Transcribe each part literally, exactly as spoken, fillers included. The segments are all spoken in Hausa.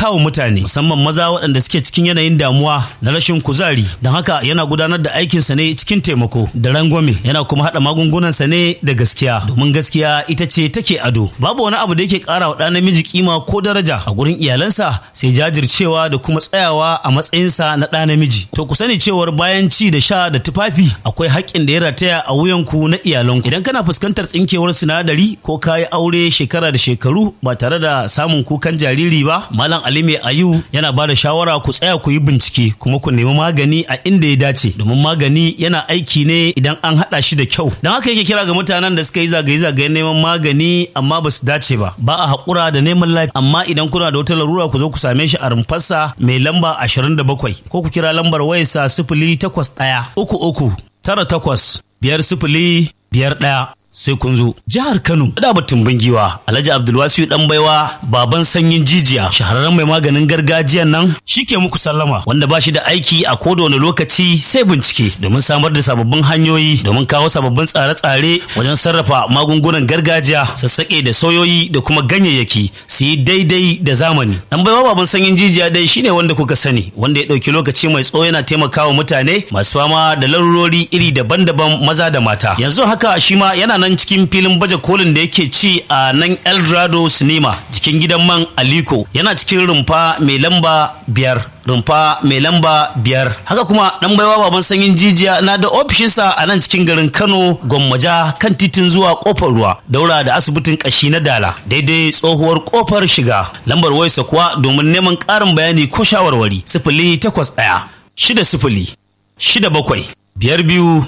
taimakawa mutane, musamman maza waɗanda suke cikin yanayin damuwa na rashin kuzari. Don haka yana gudanar da aikinsa ne cikin taimako da rangwame, yana kuma haɗa magungunansa ne da gaskiya, domin gaskiya ita ce take ado. Babu wani abu da yake ƙara wa ɗa namiji kima ko daraja a gurin iyalansa sai jajircewa da kuma tsayawa a matsayinsa na ɗa namiji. To ku sani cewar bayan ci da sha da tufafi, akwai haƙƙin da ya rataya a wuyanku na iyalanku. Idan kana fuskantar tsinkewar sinadari ko kayi aure shekara da shekaru ba tare da samun kukan jariri ba, Malam Ali Mai Ayu yana ba da shawara ku tsaya ku yi bincike kuma ku nemi magani a inda ya dace, domin magani yana aiki ne idan an haɗa shi da kyau. Don haka yake kira ga mutanen da suka yi zagaye-zagayen neman magani amma ba su dace ba. Ba a haƙura da neman lafiya, amma idan kuna da wata larura, ku zo ku same shi a rumfarsa mai lamba ashirin da bakwai, ko ku kira lambar wayarsa sifili takwas ɗaya uku uku tara takwas biyar sifili biyar ɗaya. Sai kun zo. Jihar Kano da batun giwa, Alhaji Abdulwasiu Dan Baiwa, baban sanyin jijiya, shahararren mai maganin gargajiyan nan, shike muku sallama, wanda ba shi da aiki a koda wani lokaci sai bincike domin samar da sababbin hanyoyi, domin kawo sababbin tsare-tsare wajen sarrafa magungunan gargajiya, sassaƙe da soyoyi da kuma ganyayyaki su yi daidai da zamani. Dan Baiwa baban sanyin jijiya dai shine wanda kuka sani, wanda ya ɗauki lokaci mai tsawo yana taimakawa mutane masu fama da larurori iri daban-daban, maza da mata. Yanzu haka shi ma yana nan cikin filin baje kolin da yake ci a nan Eldorado Cinema, jikin gidan man Aliko, yana cikin rumfa mai lamba biyar, rumfa mai lamba biyar. Haka kuma Dan Baiwa baban sanyin jijiya na da ofishinsa a nan cikin garin Kano, Gwammaja, kan titin zuwa Kofar Ruwa, daura da asibitin kashi na Dala, daidai tsohuwar kofar shiga. Lambar wayarsa kuwa domin neman ƙarin bayani ko shawarwari: sifili takwas ɗaya shida sifili shida bakwai biyar biyu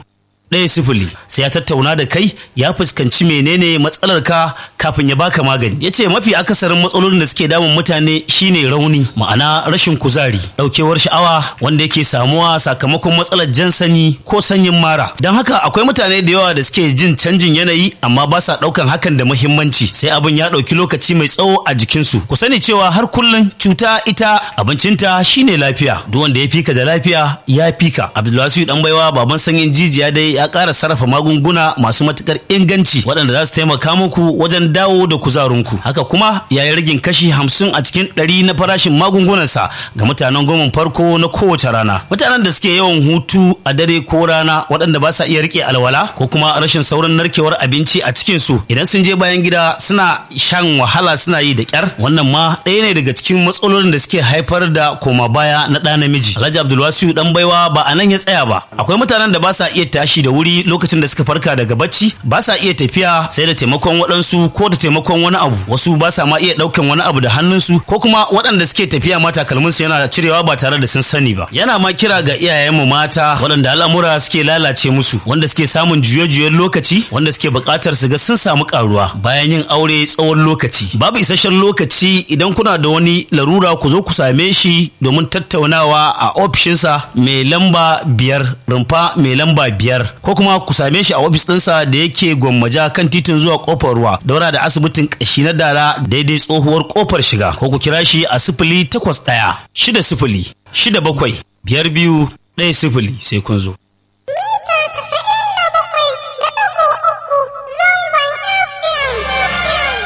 ɗaya sifili. Sai ya tattauna da kai, ya fuskanci menene matsalar ka kafin ya baka magani. Ya ce mafi akasarin matsalolin da suke damun mutane shine rauni, ma'ana rashin kuzari, daukewar sha'awa, wanda yake samuwa sakamakon matsalar jan sanyi ko sanyin mara. Don haka akwai mutane da yawa da suke jin canjin yanayi amma ba sa daukan hakan da muhimmanci, sai abin ya dauki lokaci mai tsawo a jikinsu. Ku sani cewa har kullum cuta ita abincinta shine lafiya. Duk wanda ya fika da lafiya ya fika. Abdulwasiu Dan Baiwa baban sanyin jijiya dai ya ƙara sarrafa magunguna masu matuƙar inganci waɗanda za su taimaka muku wajen dawo da kuzarinku. Haka kuma ya yi ragin kashi hamsin a cikin ɗari na farashin magungunansa ga mutanen goma farko na kowace rana. Mutanen da suke yawan hutu a dare ko rana, waɗanda ba sa iya riƙe alwala, ko kuma rashin saurin narkewar abinci a cikin su, idan sun je bayan gida suna shan wahala, suna yi da ƙyar, wannan ma ɗaya ne daga cikin matsalolin da suke haifar da koma baya na ɗa namiji. Alhaji Abdulwasiu Dan Baiwa ba a nan ya tsaya ba. Akwai mutanen da ba sa iya tashi da wuri lokacin da suka farka daga bacci, ba sa iya tafiya sai da taimakon waɗansu ko da taimakon wani abu, wasu ba sa ma iya ɗaukan wani abu da hannunsu, ko kuma waɗanda suke tafiya ma takalminsu yana cirewa ba tare da sun sani ba. Yana ma kira ga iyayenmu mata waɗanda al'amura suke lalace musu, wanda suke samun juye-juyen lokaci, wanda suke buƙatar su ga sun samu ƙaruwa bayan yin aure tsawon lokaci babu isasshen lokaci, idan kuna da wani larura ku zo ku same shi domin tattaunawa a ofishinsa mai lamba biyar, rumfa mai lamba biyar, ko kuma ku same shi a ofis ɗinsa da yake Gwammaja, kan titin zuwa Kofar Ruwa, daura da asibitin kashi na Dala, daidai tsohuwar kofar shiga, ko ku kira shi a sifili takwas ɗaya shida sifili shida bakwai biyar biyu ɗaya sifili. Sai kun zo.